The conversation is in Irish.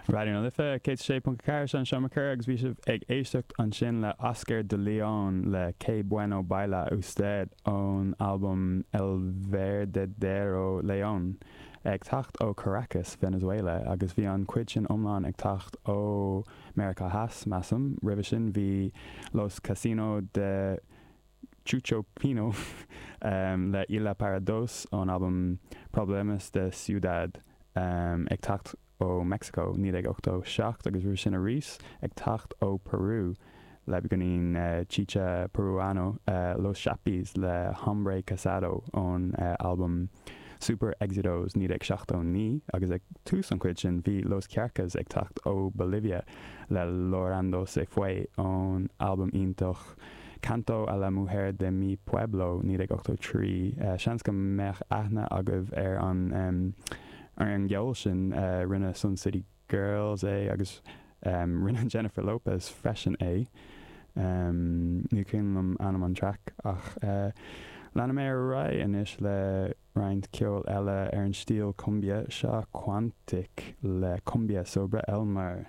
Raidió na Life 106.4 seo an Seomra Comhrá agus bhí sibh ag éisteacht ansin le Oscar D'León le Que Bueno Baila Usted ón albam El Verdadero León ag teacht ó Caracas, Venezuela agus bhí an chuid sin iomlán ag teacht ó Meiriceá Theas, measaim. Roimhe sin bhí Los Casino de Chucho Pino le Isla Para Dos ón albam Problemas de Ciudad ag teacht ó Mexico, 1987, agus roimhe sin arís ag teacht ó Peru le beagáinín chicha Peruano, Los Shapis le Hombre Casado ón albam Super Éxitos, 1979, agus ag tús an chuid sin bhí Los Kjarkas ag teacht ó Bolivia le Llorando Se Fue ón albam iontach Canto a la Mujer de mi Pueblo, 1983. Seans go mbeadh aithne agaibh ar an ar an gceol sin. Rinne Sun City Girls é agus rinne Jennifer Lopez freisin é. Ní cuimhin liom ainm an traic ach leanfaidh mé ar aghaidh anois le roinnt ceoil eile ar an stíl cumbia. Seo Quantic le Cumbia Sobre El Mar.